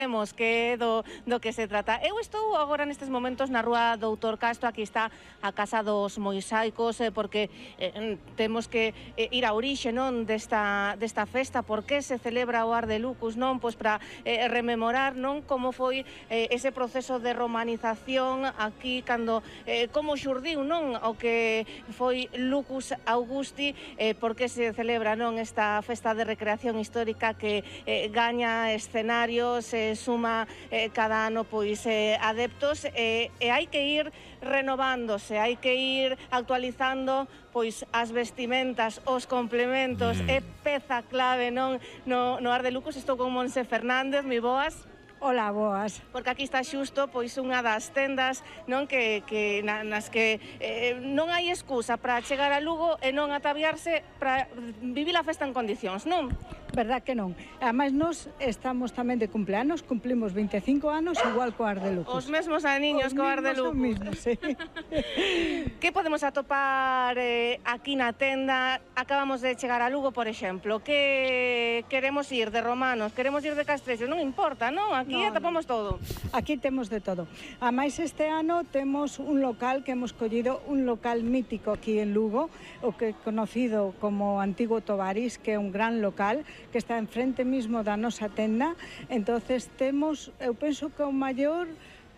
Vemos que do que se trata. Eu estou agora nestes momentos na rúa Doutor Castro, aquí está a Casa dos Mosaicos, porque temos que ir á orixe, non, desta festa, por que se celebra o Ar de Lucus, non, pois para rememorar, non, como foi ese proceso de romanización aquí, cando como xurdiu, non, o que foi Lucus Augusti, por que se celebra, non, esta festa de recreación histórica que gaña escenarios, suma cada ano pois adeptos, e hai que ir renovándose, hai que ir actualizando pois as vestimentas, os complementos, é peza clave, non, no Ar de Lucus. Estou con Monse Fernández, moi boas. Ola, boas. Porque aquí está xusto pois unha das tendas, non, nas que non hai excusa para chegar a Lugo e non ataviarse para vivir a festa en condicións, non? Verdad que non. Ademais, nós estamos tamén de cumpleanos, cumplimos 25 anos igual co Ar de Lucus. Os mesmos aniños co Ar de Lucus. Os mesmos, sí. Que podemos atopar aquí na tenda? Acabamos de chegar a Lugo, por exemplo. Que queremos ir de romanos, queremos ir de castrexos, non importa, non? Aquí atopamos todo. Aquí temos de todo. Ademais, este ano temos un local que hemos collido, un local mítico aquí en Lugo, o que é conocido como Antigo Tovaris, que é un gran local, que está enfrente mismo da nosa tenda. Entonces temos, eu penso que o maior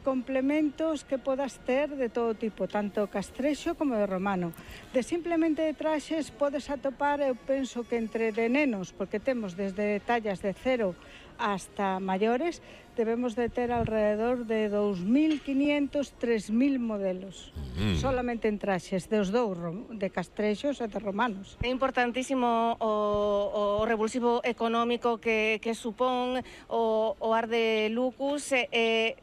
complementos que podas ter de todo tipo, tanto castrexo como de romano. De simplemente de traxes podes atopar, eu penso que entre de nenos, porque temos desde tallas de 0 hasta maiores, debemos de ter alrededor de 2.500, 3.000 modelos, solamente en traxes, dos dous, de castrexos e de romanos. É importantísimo o revulsivo económico que supón o Ar de Lucus.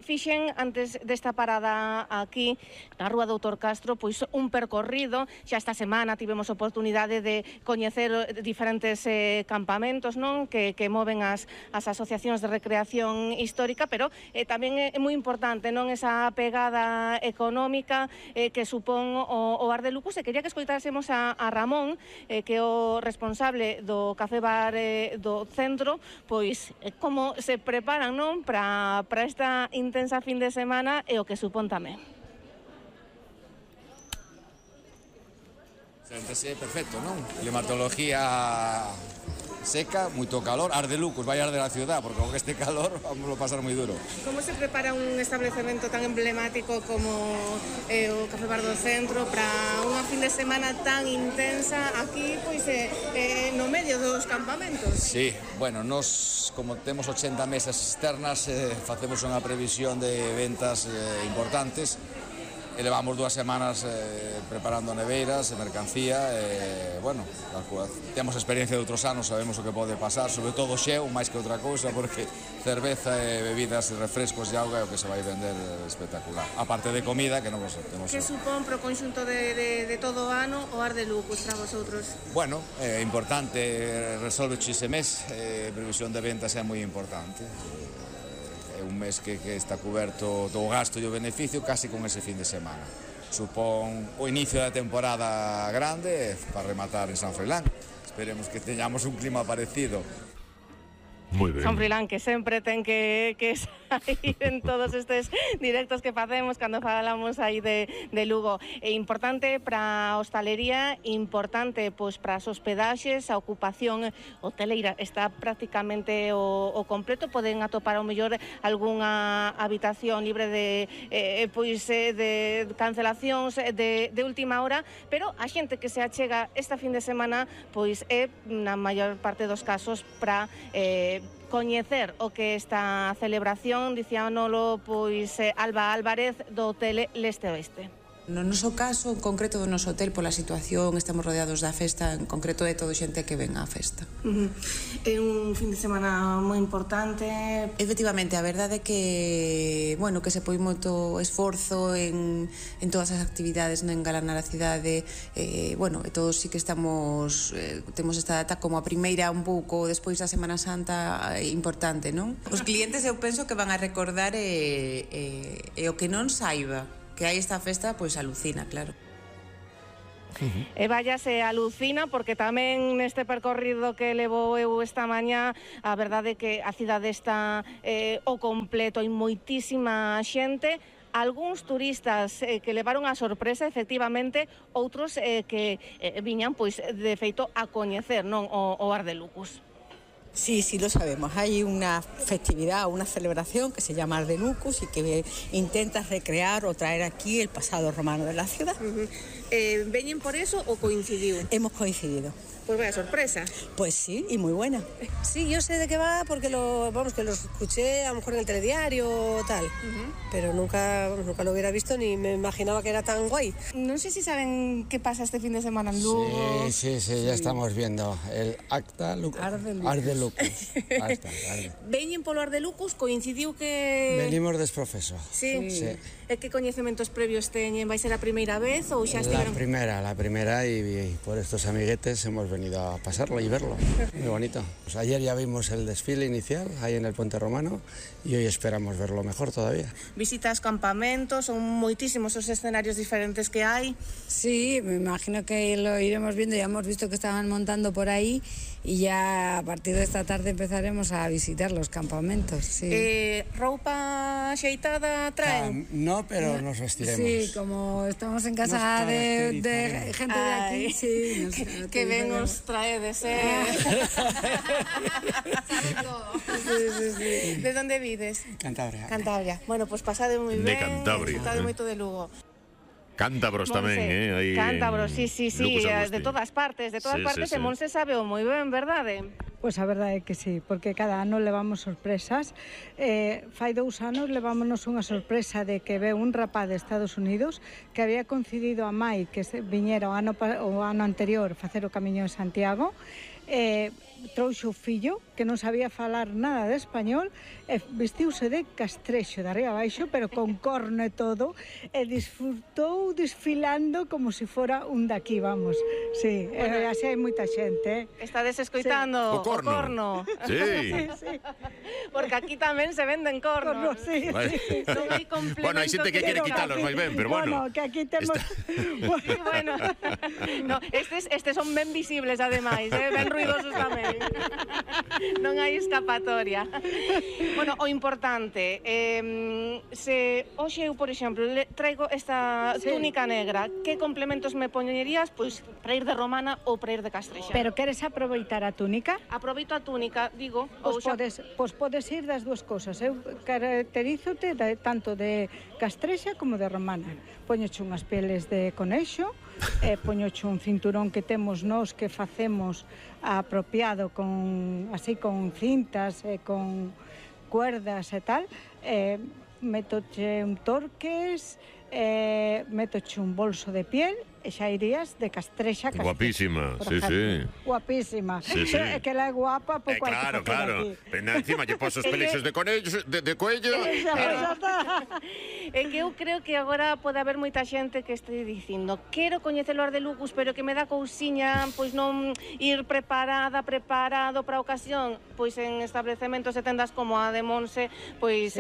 Fixen, antes desta parada aquí, na rúa Doutor Castro, pois un percorrido. Xa esta semana tivemos oportunidade de coñecer diferentes campamentos, non, que moven as asociacións de recreación histórica, pero tamén é moi importante, non, esa pegada económica que supón o Ar de Lucus. E quería que escoitásemos a Ramón, que é o responsable do Café Bar do centro, pois como se preparan, non, para esta intensa fin de semana e o que supón tamén. Séntese perfecto, non? Climatología seca, moito calor, Ar de Lucus, vai arder a ciudad, porque con este calor vamos a pasar moi duro. Como se prepara un establecemento tan emblemático como o Café Bar do Centro para unha fin de semana tan intensa aquí, pois no medio dos campamentos? Sí, bueno, nos, como temos 80 mesas externas, facemos unha previsión de ventas importantes. E levamos 2 semanas preparando neveiras e mercancía, bueno, temos experiencia de outros anos, sabemos o que pode pasar, sobre todo xeo, máis que outra cousa, porque cerveza e bebidas e refrescos e auga é o que se vai vender espectacular. A parte de comida, que non vos temos... Que supón pro conxunto de todo o ano o Ar de Lucus para vosotros? Bueno, é importante, resolve ese mes, previsión de ventas é moi importante. É un mes que está coberto do gasto e o beneficio casi con ese fin de semana. Supón o inicio da temporada grande para rematar en San Froilán. Esperemos que teñamos un clima parecido. Moi ben. Son Froilán, que sempre ten que sair en todos estes directos que facemos cando falamos aí de Lugo. É importante para a hostalería, importante pois para as hospedaxes, a ocupación hoteleira está prácticamente o completo. Poden atopar ao mellor algunha habitación libre de cancelacións de última hora, pero a xente que se achega esta fin de semana pois é na maior parte dos casos para coñecer o que esta celebración. Dicíanolo pois Alba Álvarez do Hotel Leste Oeste. No noso caso, en concreto do noso hotel, pola situación, estamos rodeados da festa, en concreto é todo xente que ven á festa. É un fin de semana moi importante. Efectivamente, a verdade é que, bueno, que se poi moito esforzo en todas as actividades, en engalanar a cidade, bueno, e todos sí que estamos, temos esta data como a primeira un pouco despois da Semana Santa importante, non? Os clientes eu penso que van a recordar e o que non saiba que hai esta festa, pois alucina, claro. E vaya se alucina, porque tamén neste percorrido que levou eu esta mañá, a verdade é que a cidade está o completo, hai moitísima xente, algúns turistas que levaron a sorpresa, efectivamente, outros que viñan, pois, de feito, a coñecer, non, o Arde Lucus. Sí, sí lo sabemos. Hay una festividad, una celebración que se llama Arde Lucus y que intenta recrear o traer aquí el pasado romano de la ciudad. ¿Veñen por eso o coincidiu? Hemos coincidido. Pues vaya sorpresa. Pues sí, y muy buena. Sí, yo sé de qué va porque lo escuché a lo mejor en el telediario o tal, pero nunca lo hubiera visto ni me imaginaba que era tan guay. No sé si saben qué pasa este fin de semana en Lugo. Sí, ya estamos viendo el acta Arde Lucus. Veñen polo Arde Lucus, coincidiu que... Venimos desprofeso. Sí. E que coñecementos previos teñen? Vai ser a primeira vez ou xa estiveron? La primera y por estos amiguetes hemos venido a pasarlo y verlo. Muy bonito. Pues ayer ya vimos el desfile inicial ahí en el Puente Romano y hoy esperamos verlo mejor todavía. Visitas campamentos, son moitísimos os escenarios diferentes que hai. Sí, me imagino que lo iremos viendo, ya hemos visto que estaban montando por ahí y ya a partir de esta tarde empezaremos a visitar los campamentos. Sí. Roupa xeitada traen? No, pero nos vestiremos. Sí, como estamos en casa de gente de aquí, sí. Que ben os traedes, Sabe todo. Sí. De onde vides? Cantabria. Bueno, pues pasade moi ben. De Cantabria. Pasade moito de Lugo. Cántabros tamén, aí Cántabros, sí, Lucus Agusti. de todas partes, e Monse sabe moi ben, verdade? Pois a verdade é que sí, porque cada ano levamos sorpresas. Fai 2 anos levámonos unha sorpresa de que ve un rapaz de Estados Unidos que había coincidido a Mai que viñera o ano anterior facer o Camiño de Santiago, trouxo o fillo que non sabía falar nada de español e vestiuse de castrexo de arriba abaixo, pero con corno e todo, e disfrutou desfilando como se fora un daqui, vamos. Sí, así hai moita xente. Estades escoitando o corno. Sí. Porque aquí tamén se venden cornos. Sí. Son hai complementos. Bueno, hai xente que quere quitalos moi ben, pero bueno. Bueno, que aquí temos... Bueno, no, estes son ben visibles, ademais, ben ruidosos tamén. Non hai escapatoria. Bueno, o importante, se hoxe eu, por exemplo, traigo esta túnica negra, que complementos me poñerías, pois, para ir de romana ou para ir de castrexa? Pero queres aproveitar a túnica? Aproveito a túnica, digo. Podes ir das dúas cosas. Eu caracterízote tanto de castrexa como de romana. Poñoche unhas peles de conexo, poñoche un cinturón que temos nós que facemos apropiado con cintas e con cuerdas e tal, metoche un torques, metoche un bolso de piel e xa irías de castrexa. Guapísima, sí. Guapísima. Sí. Que la é guapa, pouco hai que claro. Encima lle pos os pelexos de cuello. É que eu creo que agora pode haber moita xente que este dicindo quero coñecer o Arde Lucus, pero que me dá cousiña pois non ir preparado para a ocasión. Pois en establecementos e tendas como a de Monse, pois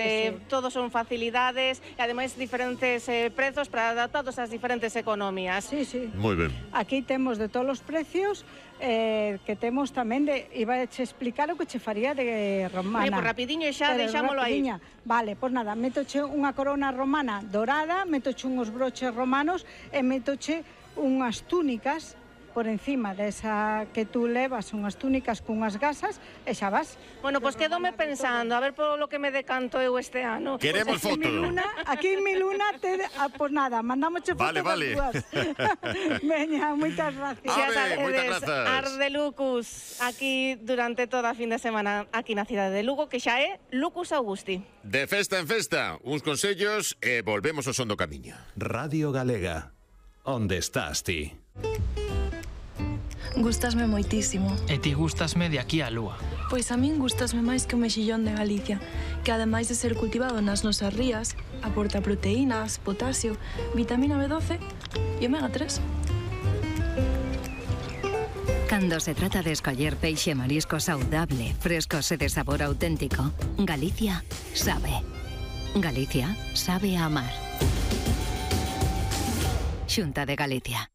todos son facilidades e ademais diferentes prezos para adaptados ás diferentes economías. Sí. Moi ben. Aquí temos de todos os precios, que temos tamén iba a che explicar o que che faría de romana. Pois rapidiño xa, deixámolo aí. Vale, pois nada, metoche unha corona romana dorada, metoche unhos broches romanos e metoche unhas túnicas por encima desa que tú levas, unhas túnicas cunhas gasas e xa vas. Bueno, pois quedome pensando, a ver polo que me decanto eu este ano. Queremos foto. Aquí en Miluna, pois nada, mandámoche foto das dúas. Veña, moitas gracias. Moitas grazas. Arde Lucus, aquí durante toda a fin de semana, aquí na cidade de Lugo, que xa é Lucus Agusti. De festa en festa, uns consellos e volvemos ao son do camiño. Radio Galega, onde estás ti? Gústasme moitísimo. E ti gústasme de aquí á lúa. Pois a min gústasme máis que o mexillón de Galicia, que ademais de ser cultivado nas nosas rías, aporta proteínas, potasio, vitamina B12 e omega 3. Cando se trata de escoller peixe e marisco saudable, frescos e de sabor auténtico, Galicia sabe. Galicia sabe a amar. Xunta de Galicia.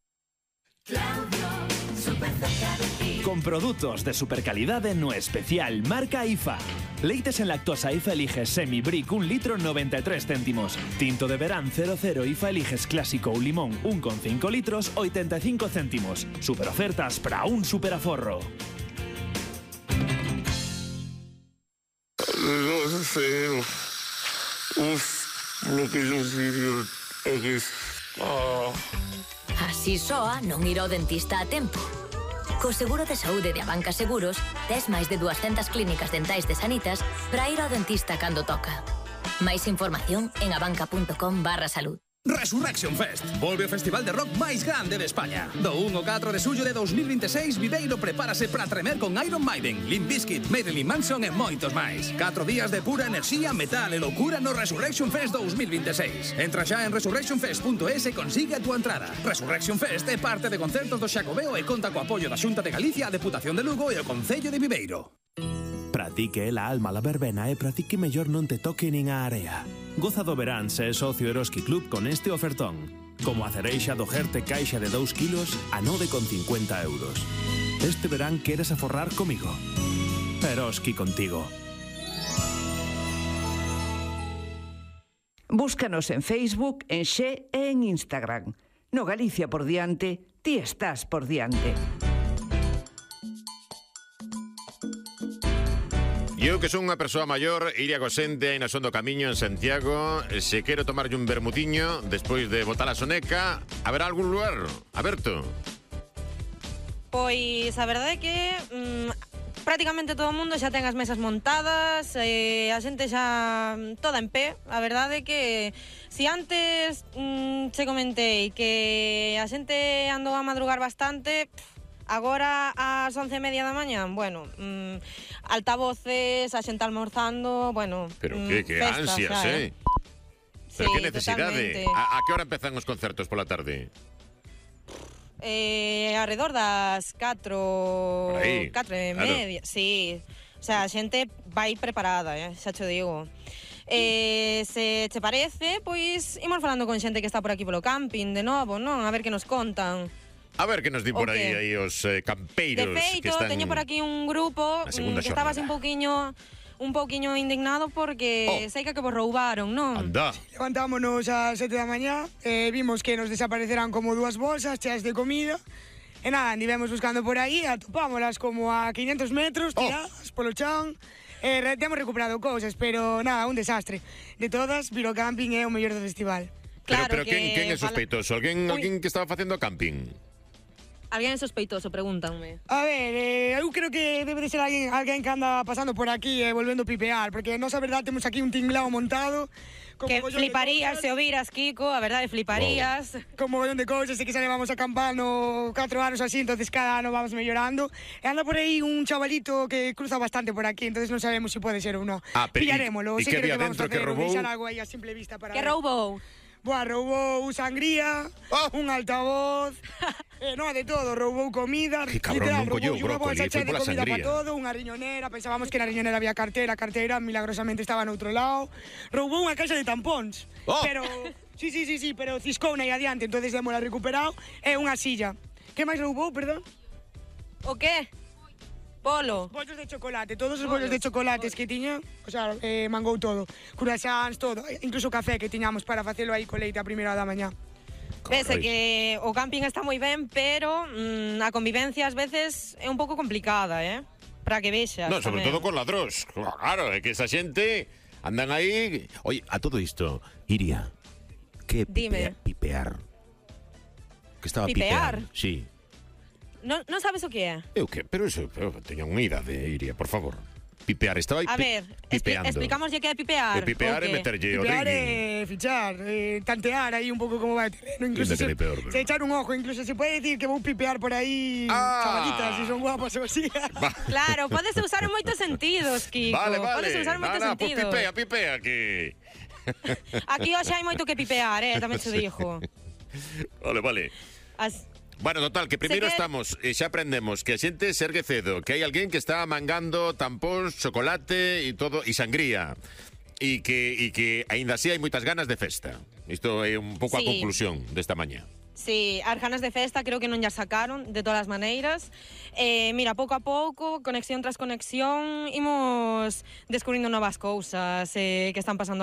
Con productos de supercalidade no especial marca IFA. Leites en lactosa IFA eliges Semi-Brick 1 litro 93 céntimos. Tinto de verán 00 IFA eliges clásico ou limón 1,5 litros 85 céntimos. Super ofertas para un superaforro. No sé. Lo que yo sigo es... Así soa non ir ao dentista a tempo. Co seguro de saúde de Abanca Seguros, tes máis de 200 clínicas dentais de Sanitas para ir ao dentista cando toca. Máis información en abanca.com/salud. Resurrection Fest. Volve o festival de rock máis grande de España. Do 1 ao 4 de xullo de 2026, Viveiro prepárase para tremer con Iron Maiden, Limp Bizkit, Marilyn Manson e moitos máis. 4 días de pura enerxía, metal e loucura no Resurrection Fest 2026. Entra xa en resurrectionfest.es e consigue a túa entrada. Resurrection Fest é parte de concertos do Xacobeo e conta co apoio da Xunta de Galicia, a Deputación de Lugo e o Concello de Viveiro. Pratique la alma la verbena e pratique mellor non te toque nin a area. Goza do verán se é socio Eroski Club con este ofertón. Como a cereixa do Gerte caixa de 2 kilos a 9,50 euros. Este verán queres aforrar comigo. Eroski contigo. Búscanos en Facebook, en Xe e en Instagram. No Galicia por diante, ti estás por diante. Eu que son unha persoa maior, iría cosente aí na son do camiño en Santiago. Se quero tomarlle un vermutiño despois de botar a soneca, haberá algún lugar aberto? Pois a verdade é que prácticamente todo o mundo xa ten as mesas montadas, a xente xa toda en pé. A verdade é que se antes che comentei que a xente andou a madrugar bastante, agora ás 11:30 da mañá, bueno, altavoces, a xente almorzando, bueno, pero que ansias, xa, pero sí, que necesidade. A que hora empezan os concertos pola tarde? Arredor das 4 e media, claro. Sí, o sea, a xente vai preparada, xa te digo. Se te parece, pois imos falando con xente que está por aquí polo camping de novo, non? A ver que nos contan. A ver que nos di por aí os campeiros. De feito, que están... teño por aquí un grupo que estaba así un pouquiño indignado porque sei que vos roubaron, non? Anda. Levantámonos ás 7 da mañá, vimos que nos desaparecerán como 2 bolsas cheas de comida. E nada, andivemos buscando por aí, atopámolas como a 500 metros, tiradas polo chan. Temos recuperado cousas, pero nada, un desastre. De todas, Viro Camping é o mellor do festival. Claro, pero quen é sospeitoso? Alguén que estaba facendo camping? Alguén sospeitoso, pregúntanme. A ver, eu creo que debe de ser alguén que anda pasando por aquí e volvendo a pipear, porque nós a verdade temos aquí un tinglao montado. Que fliparías se o viras, Kiko, a verdade fliparías. Con mogollón de cousas, e que xa levamos acampando 4 anos así, entonces cada ano vamos mellorando. E anda por aí un chavalito que cruza bastante por aquí, entonces non sabemos se pode ser ou non. Pillarémolo, e que había dentro que roubou? Deixar algo aí a simple vista para... Que roubou? Boa, roubou sangría, un altavoz, no, de todo, roubou comida, que cabrón, non colleu unha bolsa chea de comida sangría. para todo, unha riñonera, pensábamos que na riñonera había carteira, a carteira milagrosamente estaba no outro lado, roubou unha caixa de tampóns, pero, sí, pero ciscouna aí adiante, entonces démola recuperado, e unha silla. Que máis roubou, perdón? O que? Polo. Bollos de chocolate, todos os bollos de chocolates que tiña, o sea, mangou todo. Curasans, todo, incluso café que tiñamos para facelo aí co leite a primeira da mañá. Pese que o camping está moi ben, pero a convivencia ás veces é un pouco complicada, para que vexas. No, sobre todo con ladróns. Claro, é que esa xente andan aí... Oye, a todo isto, Iria, que pipear? Que estaba pipeando? Sí. Non sabes o que é? Eu que? Pero eso, teña unha idade, Iria, por favor. Pipear, estaba aí pipeando. Explicámoslle que é pipear. Pipear é meterlle o ring. Pipear é fichar, tantear aí un pouco como vai o terreno. Incluso se echar un ojo, incluso se pode decir que vou pipear por aí chavalitas, se son guapas ou así. Claro, podese usar en moitos sentidos, Kiko. Vale. Podese usar en moitos sentidos. Pues pipea, que... Aquí hoxe hai moito que pipear, tamén te dixo. Vale. Bueno, total, que primeiro estamos, xa aprendemos que a xente se ergue cedo, que hai alguén que está mangando tampóns, chocolate e todo, e sangría, e que aínda así hai moitas ganas de festa. Isto é un pouco a conclusión desta mañá. Sí, as ganas de festa creo que non ya sacaron, de todas as maneiras. Mira, pouco a pouco, conexión tras conexión, imos descubrindo novas cousas que están pasando